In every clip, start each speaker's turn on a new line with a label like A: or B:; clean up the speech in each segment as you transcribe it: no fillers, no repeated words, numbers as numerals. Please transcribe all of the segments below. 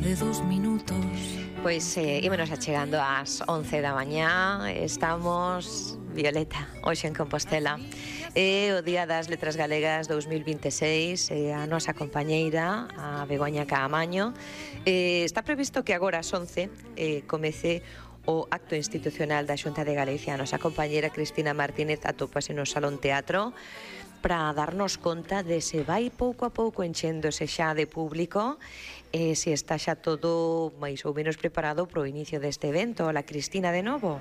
A: de 2 minutos.
B: Pois ímonos achegando ás 11 da mañá. Estamos, Violeta, hoxe en Compostela. É o Día das Letras Galegas 2026. A nosa compañeira, a Begoña Caamaño, está previsto que agora ás 11 comece o acto institucional da Xunta de Galicia. A nosa compañeira Cristina Martínez atópase no Salón Teatro para darnos conta de se vai pouco a pouco enchéndose xa de público e se está xa todo máis ou menos preparado para o inicio deste evento. Hola, Cristina, de novo.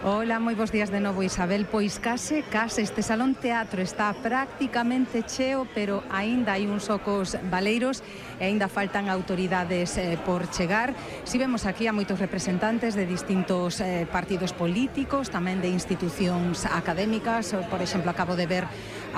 C: Hola, moi bons días de novo, Isabel. Pois case este Salón Teatro está prácticamente cheo, pero aínda hai uns ocos baleiros e aínda faltan autoridades por chegar. Si vemos aquí a moitos representantes de distintos partidos políticos, tamén de institucións académicas. Por exemplo, acabo de ver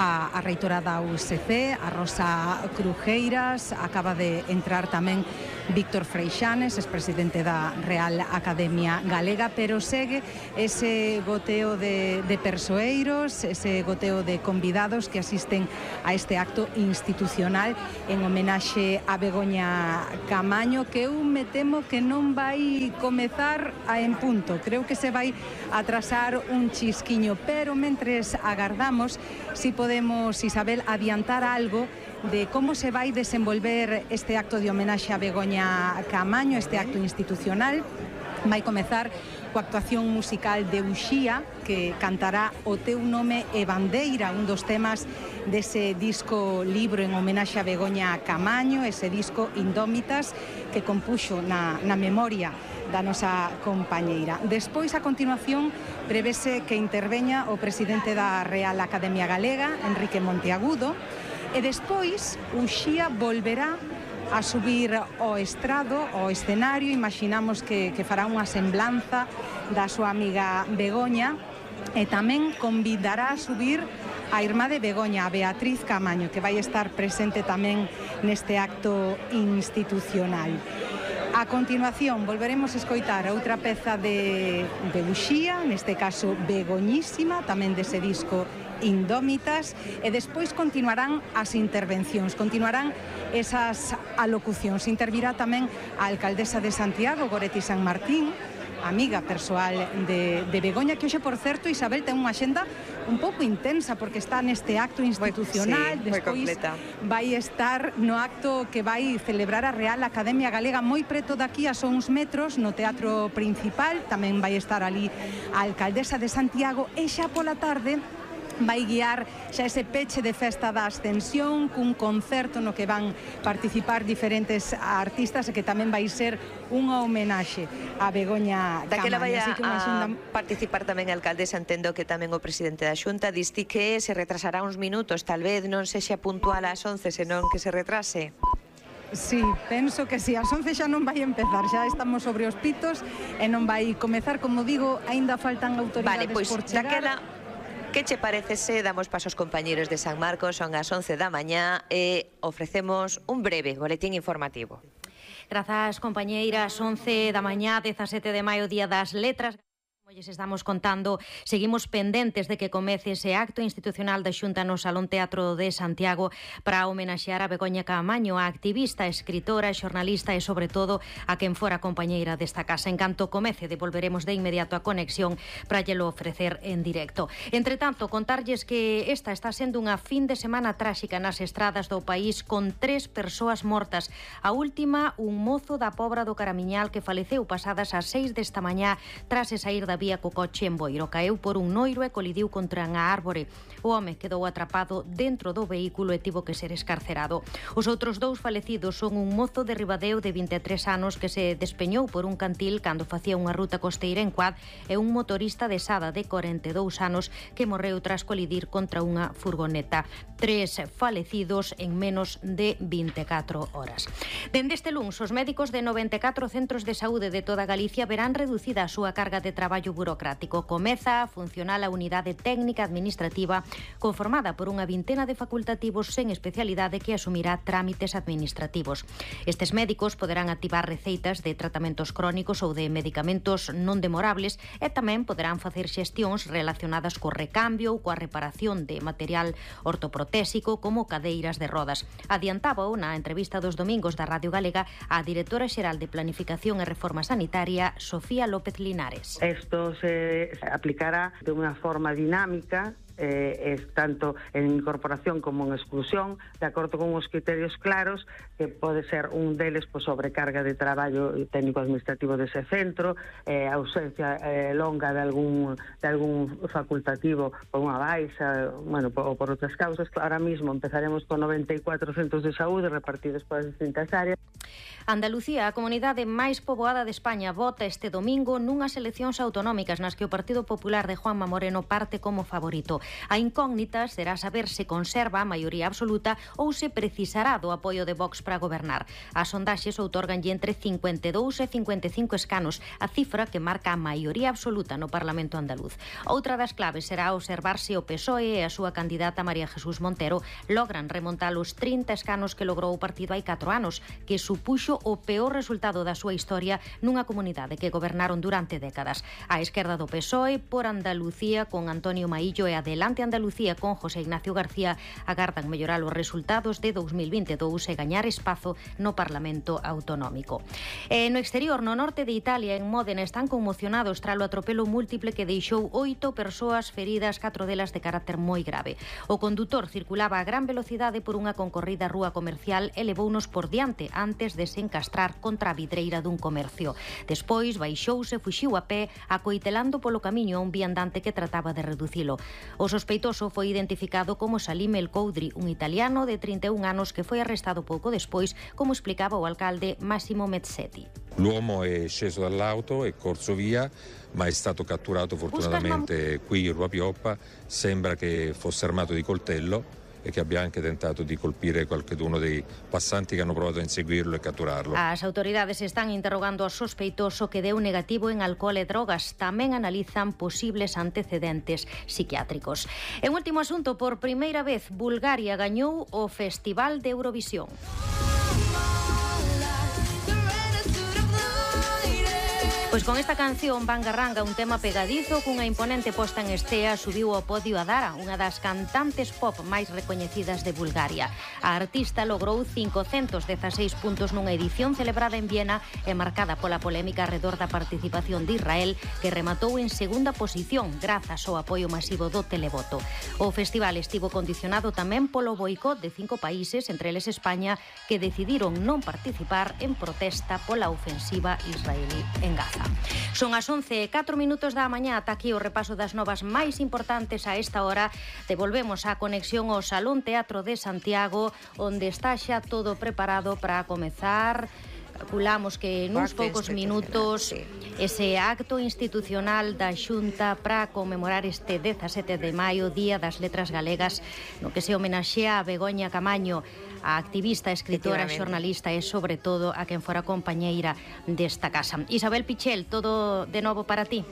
C: a reitora da USC, a Rosa Crujeiras, acaba de entrar tamén Víctor Freixanes, expresidente da Real Academia Galega, pero segue ese goteo de persoeiros, ese goteo de convidados que asisten a este acto institucional en homenaxe a Begoña Caamaño, que eu me temo que non vai comezar en punto. Creo que se vai atrasar un chisquiño, pero mentres agardamos, si podemos, Isabel, adiantar algo de como se vai desenvolver este acto de homenaxe a Begoña Caamaño, este acto institucional. Vai comezar coa actuación musical de Uxía, que cantará O teu nome e bandeira, un dos temas dese disco libro en homenaxe a Begoña Caamaño, ese disco Indómitas que compuxo na memoria da nosa compañeira. Despois, a continuación, prevese que interveña o presidente da Real Academia Galega, Enrique Monteagudo, e despois Uxía volverá a subir ao estrado, ao escenario. Imaginamos que fará unha semblanza da súa amiga Begoña e tamén convidará a subir a irmá de Begoña, a Beatriz Caamaño, que vai estar presente tamén neste acto institucional. A continuación volveremos a escoitar outra peza de Uxía, neste caso Begoñísima, tamén dese disco Indómitas, e despois continuarán as intervencións, continuarán esas alocucións. Intervirá tamén a alcaldesa de Santiago, Goretti San Martín, amiga persoal de Begoña, que hoxe, por certo, Isabel, ten unha axenda un pouco intensa porque está neste acto institucional. Despois vai estar no acto que vai celebrar a Real Academia Galega moi preto daqui, a só uns metros, no Teatro Principal. Tamén vai estar ali a alcaldesa de Santiago e xa pola tarde vai guiar xa ese peche de festa da Ascensión cun concerto no que van participar diferentes artistas e que tamén vai ser unha homenaxe a Begoña Caamaño.
B: Daquela vai a participar tamén a alcaldesa, entendo que tamén o presidente da Xunta. Diste que se retrasará uns minutos, tal vez non sexa puntual ás 11, senón que se retrase.
C: Sí, penso que si, ás 11 xa non vai empezar, xa estamos sobre os pitos e non vai comezar, como digo, aínda faltan autoridades por chegar.
B: Daquela, que che parece se damos paso aos compañeros de San Marcos? Son as 11 da mañá e ofrecemos un breve boletín informativo.
D: Grazas, compañeiras. 11 da mañá, 17 de maio, Día das Letras. Como lles estamos contando, seguimos pendentes de que comece ese acto institucional da Xunta no Salón Teatro de Santiago para homenaxear a Begoña Caamaño, a activista, escritora, xornalista e, sobre todo, a quen fora compañeira desta casa. En canto comece, devolveremos de inmediato a conexión para llelo ofrecer en directo. Entre tanto, contarlles que esta está sendo unha fin de semana tráxica nas estradas do país, con 3 persoas mortas. A última, un mozo da Pobra do Caramiñal que faleceu pasadas as 6 desta mañá tras saír da vía co coche en Boiro. Caeu por un noiro e colidiu contra unha árbore. O home quedou atrapado dentro do vehículo e tivo que ser escarcerado. Os outros 2 falecidos son un mozo de Ribadeo de 23 anos que se despeñou por un cantil cando facía unha ruta costeira en quad e un motorista de Sada de 42 anos que morreu tras colidir contra unha furgoneta. 3 falecidos en menos de 24 horas. Dende este luns, os médicos de 94 centros de saúde de toda Galicia verán reducida a súa carga de traballo traballo burocrático. Comeza a funcionar a unidade técnica administrativa conformada por unha vintena de facultativos sen especialidade que asumirá trámites administrativos. Estes médicos poderán activar receitas de tratamentos crónicos ou de medicamentos non demorables e tamén poderán facer xestións relacionadas co recambio ou coa reparación de material ortoprotésico como cadeiras de rodas. Adiantaba na entrevista dos domingos da Radio Galega a directora xeral de Planificación e Reforma Sanitaria, Sofía López Linares.
A: Esto se aplicará de unha forma dinámica, tanto en incorporación como en exclusión, de acordo con os criterios claros, que pode ser un deles por sobrecarga de traballo técnico-administrativo dese centro, ausencia longa de algún facultativo por unha baixa, ou por outras causas. Ahora mismo empezaremos con 94 centros de saúde repartidos por as distintas áreas.
D: Andalucía, a comunidade máis poboada de España, vota este domingo nunhas eleccións autonómicas nas que o Partido Popular de Juanma Moreno parte como favorito. A incógnita será saber se conserva a maioría absoluta ou se precisará do apoio de Vox para gobernar. As sondaxes outorganlle entre 52 e 55 escanos, a cifra que marca a maioría absoluta no Parlamento andaluz. Outra das claves será observar se o PSOE e a súa candidata María Jesús Montero logran remontar os 30 escanos que logrou o partido hai 4 anos, que supuxo o peor resultado da súa historia nunha comunidade que gobernaron durante décadas. A esquerda do PSOE por Andalucía con Antonio Maillo e Adelante Andalucía con José Ignacio García agardan mellorar os resultados de 2022 e gañar espazo no Parlamento Autonómico. No exterior, no norte de Italia, en Módena, están conmocionados tras o atropelo múltiple que deixou 8 persoas feridas, 4 delas de carácter moi grave. O condutor circulaba a gran velocidade por unha concorrida rúa comercial e levounos por diante antes de se encastrar contra a vidreira dun comercio. Despois baixouse e fuxiu a pé, acoitelando polo camiño a un viandante que trataba de reducilo. O sospeitoso foi identificado como Salim El Coudri, un italiano de 31 anos que foi arrestado pouco despois, como explicaba o alcalde Massimo Mezzetti.
E: L'uomo è sceso dall'auto, è corso via, ma è stato catturato fortunatamente qui in Rua Pioppa. Sembra che fosse armato di coltello e che abbia anche tentato di colpire qualcuno dei passanti che hanno provato a inseguirlo e catturarlo.
D: As autoridades están interrogando ao sospeitoso que deu negativo en alcohol e drogas. Tamén analizan posibles antecedentes psiquiátricos. En último asunto, por primeira vez, Bulgaria gañou o Festival de Eurovisión. Pois con esta canción, Bangarranga, un tema pegadizo cunha imponente posta en estea, subiu ao podio a Dara, unha das cantantes pop máis recoñecidas de Bulgaria. A artista logrou 516 puntos nunha edición celebrada en Viena e marcada pola polémica arredor da participación de Israel, que rematou en segunda posición grazas ao apoio masivo do televoto. O festival estivo condicionado tamén polo boicot de 5 países, entre eles España, que decidiron non participar en protesta pola ofensiva israelí en Gaza. Son as 11:04 da mañá. Ata aquí o repaso das novas máis importantes a esta hora. Devolvemos a conexión ao Salón Teatro de Santiago, onde está xa todo preparado para comezar. Calculamos que nuns poucos minutos ese acto institucional da Xunta para conmemorar este 17 de maio, Día das Letras Galegas, no que se homenaxea a Begoña Camaño, a activista, escritora, xornalista e, sobre todo, a quen fora compañeira desta casa. Isabel Pichel, todo de novo para ti.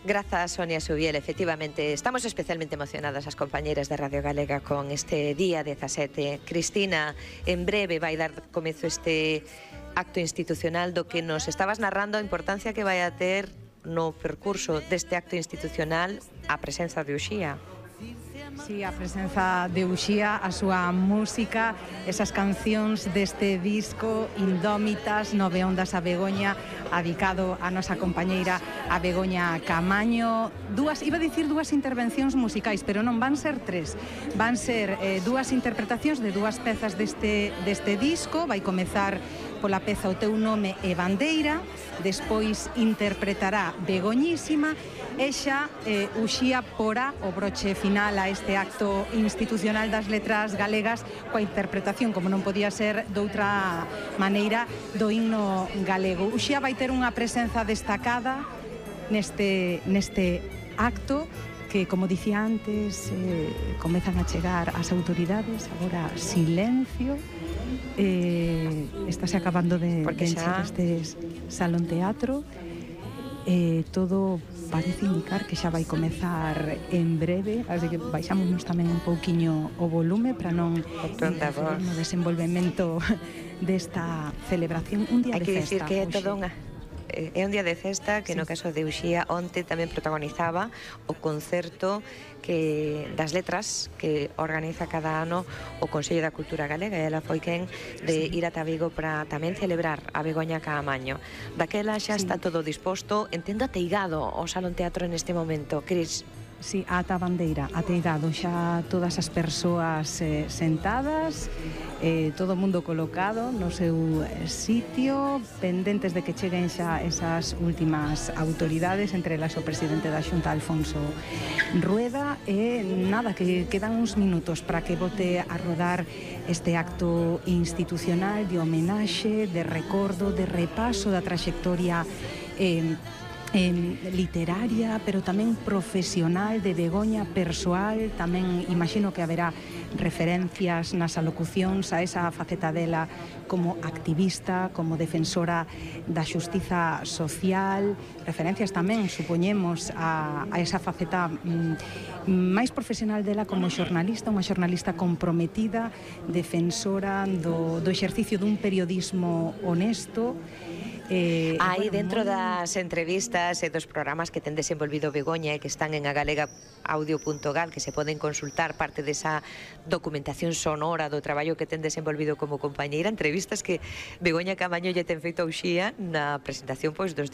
B: Grazas, Sonia Subiel. Efectivamente, estamos especialmente emocionadas as compañeras de Radio Galega con este día 17. Cristina, en breve vai dar comezo este acto institucional do que nos estabas narrando a importancia que vai a ter no percurso deste acto institucional a presenza de Uxía.
C: Sí, a presenza de Uxía, a súa música, esas cancións deste disco Indómitas, Nove ondas a Begoña, adicado a nosa compañeira a Begoña Camaño. Iba a dicir dúas intervencións musicais, pero non, van ser tres. Van ser dúas interpretacións de dúas pezas deste disco. Vai comezar pola peza O teu nome e bandeira, despois interpretará Begoñísima e xa Uxía porá o broche final a este acto institucional das letras galegas coa interpretación, como non podía ser doutra maneira, do himno galego. Uxía vai ter unha presenza destacada neste acto que, como dicía antes, comezan a chegar as autoridades, agora silencio. Estáse acabando de encher este salón teatro. todo parece indicar que xa vai comezar en breve, así que baixámonos tamén un pouquiño o volume para non interferir no desenvolvemento desta celebración, un día de festa.
B: Hai que dicir que é todo é un día de festa que no caso de Uxía onte tamén protagonizaba o concerto das letras que organiza cada ano o Consello da Cultura Galega, e ela foi quen de ir ata Vigo para tamén celebrar a Begoña Caamaño. Daquela xa está todo disposto, entendo ateigado o Salón Teatro neste momento, Cris.
C: Sí, ata a bandeira, ateigado xa todas as persoas sentadas, todo o mundo colocado no seu sitio, pendentes de que cheguen xa esas últimas autoridades, entre elas o presidente da Xunta, Alfonso Rueda, e nada, que quedan uns minutos para que bote a rodar este acto institucional de homenaxe, de recordo, de repaso da traxectoria literaria, pero tamén profesional de Begoña, persoal. Tamén imagino que haberá referencias nas alocucións a esa faceta dela como activista, como defensora da xustiza social, referencias tamén, supoñemos, a esa faceta máis profesional dela como xornalista, unha xornalista comprometida, defensora do exercicio dun periodismo honesto.
B: Aí dentro das entrevistas e dos programas que ten desenvolvido Begoña e que están en agalegaaudio.gal, que se poden consultar parte desa documentación sonora do traballo que ten desenvolvido como compañeira, entrevistas que Begoña Caamaño lle ten feito a Uxía na presentación dos